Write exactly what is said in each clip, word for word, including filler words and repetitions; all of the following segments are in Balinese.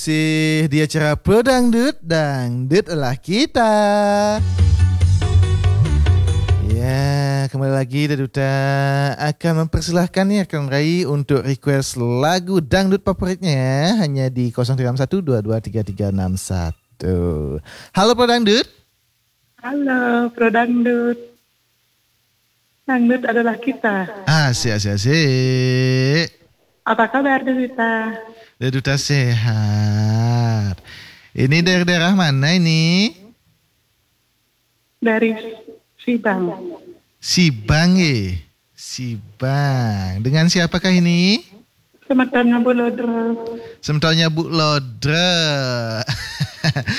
Masih di acara Pro Dangdut, Dangdut adalah kita. Ya, kembali lagi Daduta akan mempersilahkan nih rekan Rai untuk request lagu dangdut favoritnya hanya di kosong tiga enam satu dua dua tiga tiga enam satu. Halo Pro Dangdut. Halo, Pro Dangdut. Dangdut adalah kita. Asik, asik, asik. Apa kabar, Duta? Duta sehat. Ini dari daerah mana ini? Dari Sibang. Sibang, eh. Sibang. Dengan siapakah ini? Semetonnya Bu Lodre. Semetonnya Bu Lodre.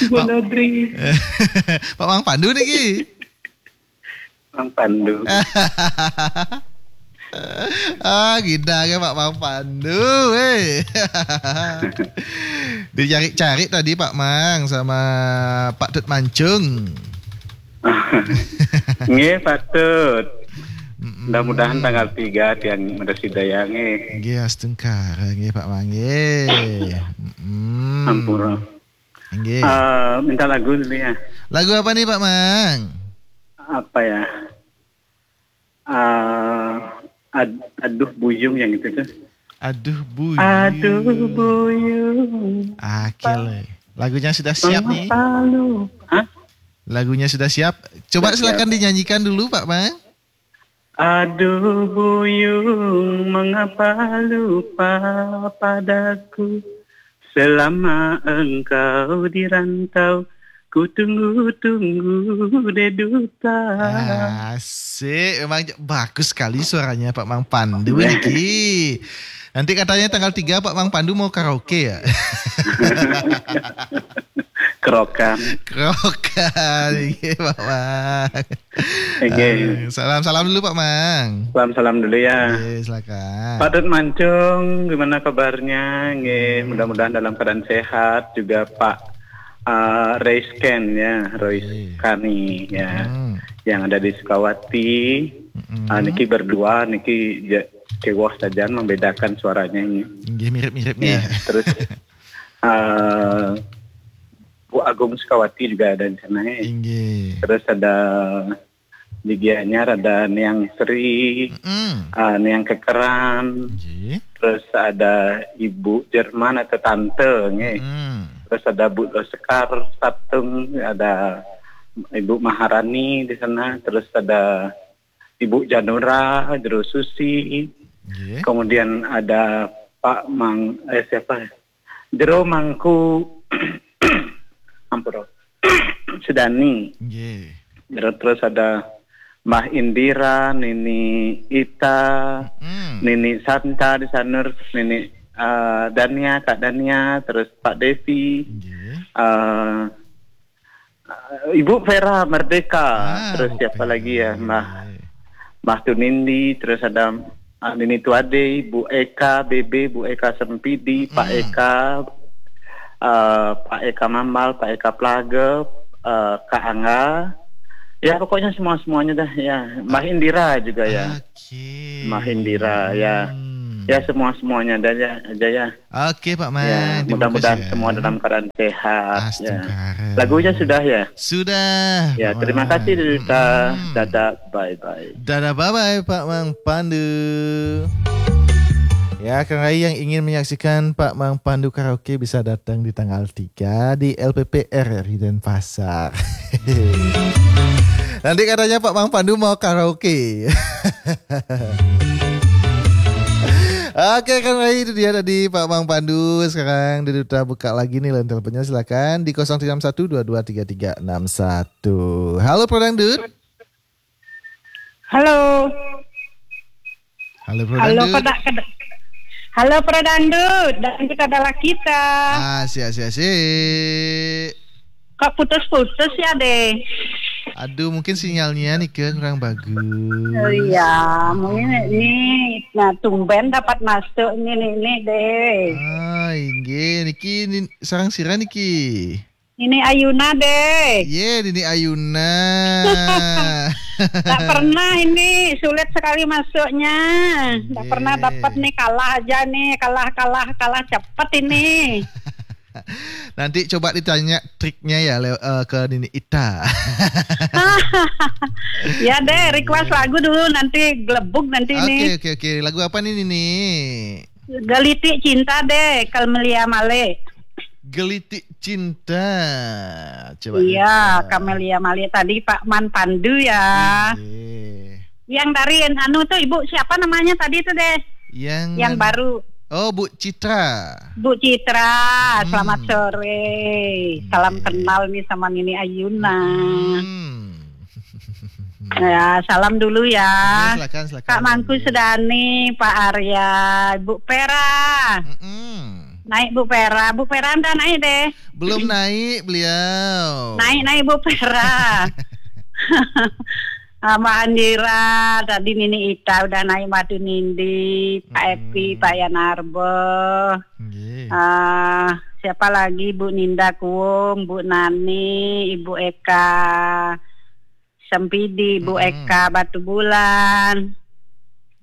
Bu Pak Lodri. Pak Mang Pandu niki. Mang Pandu. Ah, gila ya Pak Mang Pandu, eh. Dicari-cari tadi Pak Mang sama Pak Tut Mancung. Nggih, Pak Tut. Mm-mm. Mudah-mudahan tanggal tiga tiang Medes Hidayah, nggih. Nggih, astungkara, nggih, Pak Mang, nggih. Mm-mm. Ampura. Nggih. Eh, minta lagu dulu ya. Lagu apa nih, Pak Mang? Apa ya? Eh, ad-, Aduh Buyung yang itu tuh. Aduh Buyung. Aduh Buyung. Akil. Lagunya sudah siap nih. Mengapa lu? Hah? Lagunya sudah siap. Coba Sudah siap. silakan dinyanyikan dulu, Pak Mang. Aduh Buyung, mengapa lupa padaku? Selama engkau di rantau, ku tunggu-tunggu deh, Duta. Asik, memang j-, bagus sekali suaranya Pak Mang Pandu niki. Nanti katanya tanggal tiga Pak Mang Pandu mau karaoke ya? Kerokan. Kerokan, iya Pak Mang. Oke. Eh, salam-salam dulu Pak Mang. Salam-salam dulu ya. Oke, silakan. Pak Tut Mancung, gimana kabarnya? Nggih, Hmm. mudah-mudahan dalam keadaan sehat. Juga Pak, eh, Reisken ya, Rois Oke. Kani ya, Hmm. yang ada di Sukawati. Mm-mm. Ah, niki berdua, niki ja-, kewah saja membedakan suaranya ini. Nggih, mirip-mirip Ya, nih. terus, eh, Bu Agung Sukawati juga ada di sana ya. Inggih. Terus ada di Gianyar ada Niang Sri, Mm-mm. eh, Niang Kekeran. Nggih. Terus ada Ibu Jerman atau Tante, nggih. Mm. Terus ada Bu Sekar Satung, ada Ibu Maharani di sana. Terus ada Ibu Janura, Jero Susi. Nggih. Kemudian ada Pak Mang, eh, siapa? Jero Mangku. Ampun. Sudani. Nggih. Jero, terus ada Mbah Indira, Nini Ita, Mm. Nini Santa di sana, terus Nini, eh, Dania, Kak Dania, terus Pak Devi, Nggih. eh, eh, Ibu Vera Merdeka, Ah, terus Bu siapa Vera, lagi ya, iya, Mbah, iya. Mbah Tunindi, terus ada, eh, Nini Tuade, Bu Eka, B B, Bu Eka Sempidi, Pak Mm. Eka, eh, Pak Eka Mambal, Pak Eka Plage, eh, Kak Angga. Ya, pokoknya semua-semuanya dah, ya. Mbah Indira juga, ya. Oke. Mbah Indira, ya. Hmm. Ya, semua-semuanya dah, ya, aja, ya. Oke, Pak Ya, Mang. Terima mudah-mudahan kasih, ya. semua dalam keadaan sehat, ya. Astungkara. Lagunya sudah, ya? Sudah, Ya, Pak terima Mang. kasih, Duta. Mm-mm. Dadah, bye-bye. Dadah, bye-bye, Pak Mang Pandu. Ya, Kang Rai yang ingin menyaksikan Pak Mang Pandu karaoke bisa datang di tanggal tiga di L P P R R I Denpasar. Nanti katanya Pak Mang Pandu mau karaoke. Oke, Kang Rai, itu dia tadi Pak Mang Pandu. Sekarang Duta buka lagi nih line teleponnya, silakan di kosong tiga enam satu dua dua tiga tiga enam satu. Halo, Pro Dangdut. Halo. Halo, Pro Halo, Dangdut. Pada-, kada-, halo, Pro Dangdut. Dangdut adalah kita. Ah, siap, siap, siap. Kok putus-putus ya, deh? Aduh, mungkin sinyalnya nih, Kang, kurang bagus. Oh iya, mungkin ini, nah, tumben dapat masuk ini, ini, ini, deh. Ah, inggih. Niki, ni-, sareng sira niki? Ini Ayuna, deh. Ye, Nini Ayuna. Tak pernah ini, sulit sekali masuknya. Tak Ye. pernah dapat nih, kalah aja nih, kalah, kalah, kalah cepet ini. Nanti coba ditanya triknya ya le- eh, ke Nini Ita. Ya deh, request lagu dulu, nanti gelebug nanti. Oke, nih. Oke, oke. Lagu apa nih, Nini? Gelitik Cinta deh, Camelia Malik. Gelitik Cinta. Coba. Iya, Camelia Malik tadi, Pak Man Pandu ya. Iya. Yang dari anu tuh, Ibu siapa namanya tadi tuh deh? Yang Yang mana? Baru. Oh, Bu Citra. Bu Citra, hmm, selamat sore. Salam, iya, kenal nih sama Nini Ayuna. Hmm. Ya, salam dulu ya. Oke, silakan, silakan. Kak Mangku, iya, Sedani, Pak Arya, Bu Pera. Mm-mm. Naik Bu Pera. Bu Pera udah naik deh. Belum naik beliau. Naik, naik Bu Pera. Ah, Mbak Andira, tadi Nini Ita udah naik, Madu Nindi, Pak Epi, Pak Yan Arbo. Nggih. Ah, siapa lagi? Bu Ninda Kuwung, Bu Nani, Ibu Eka Sempidi, Bu Eka Batu Bulan.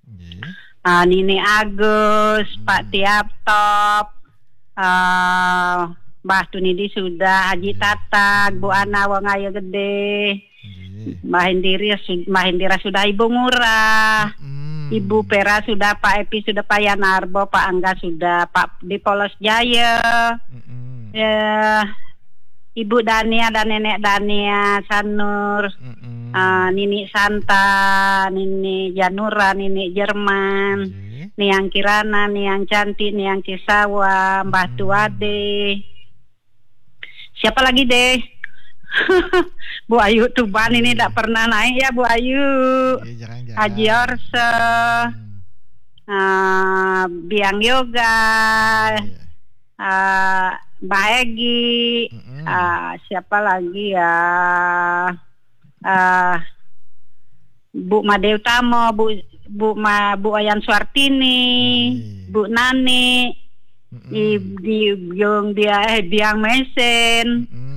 Nggih. Ah, Nini Agus, Pak Tiap Top, ah, Mbah Tunidi sudah, Haji Tatag, Bu Ana Wong Ayo Gede. Nggih. Mbah Indira sud- Mbah Indira sudah, Ibu Ngurah. Mm-mm. Ibu Pera sudah, Pak Epi sudah, Pak Yanarbo, Pak Angga sudah, Pak di Polos Jaya. Mm-mm. Ya, Ibu Dania dan Nenek Dania Sanur. Mm-mm. Ah, Nini Santa, Nini Janura, Nini Jerman, nggih. Niang Kirana, Niang Cantik, Niang Cisawa, Mbah Tuade. Siapa lagi deh? Bu Ayu Tuban ini tak pernah naik ya, Bu Ayu. Iya, jarang-jarang. Haji Orse. Hmm. Ah, Biang Yoga. Iya. Ah, Mbah Egi. Mm-mm. Ah, siapa lagi ya? Ah, Bu Made Utama, Bu Bu Ma, Bu Ayan Suartini, iya, Bu Nani, mm-mm, di di Biang Bia eh Biang Mesen. Mm-mm.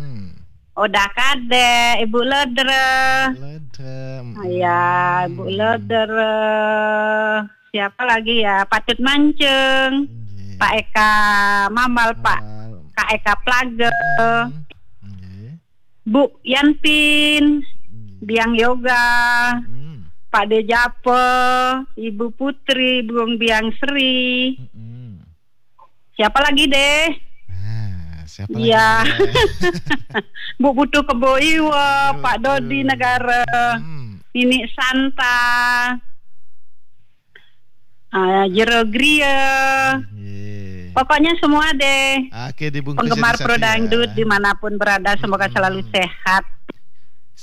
Oda Kade, Ibu Ledre. Ledre. Mm-mm. Ya, Ibu Ledre. Siapa lagi ya? Patut Mancung. Nggih. Pak Eka Mamal, Pak. Mamal. Kak Eka Plage. Mm-mm. Nggih. Bu Yanpin, hmm, Biang Yoga, hmm, Pak Dejape, Ibu Putri, Bung Biang Sri. Hmm. Siapa lagi deh? Ah, siapa lagi? Iya. Bu Putu Kebo Iwa, Pak Dodi Negara, hmm, Nini Santa. Ah, Jero Griya. Iya. Pokoknya semua deh. Oke, dibungkus. Penggemar satu-satu Pro Dangdut ya. Dimanapun berada, semoga selalu sehat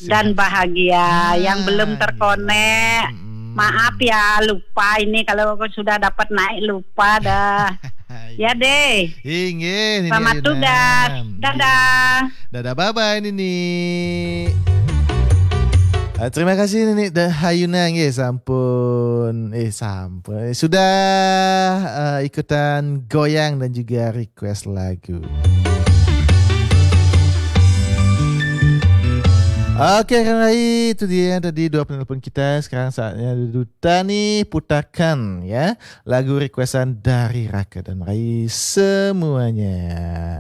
dan bahagia. Yang belum terkonek, maaf ya, lupa ini kalau sudah dapat naik, lupa dah. Ya deh. Inggih, Nini Ayunan. Selamat tugas. Dadah. Dadah, bye-bye, Nini. Ah, terima kasih, Nini Ayunan, nggih, sampun, eh, sampun, eh, sudah, eh, ikutan goyang dan juga request lagu. Oke, Kang Rai, itu dia tadi dua penelpon kita. Sekarang saatnya Duta nih putarkan, ya, lagu requestan dari Raka dan Rai semuanya.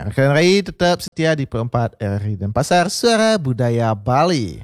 Raka dan Rai tetap setia di Pro empat R R I Denpasar, Suara Budaya Bali.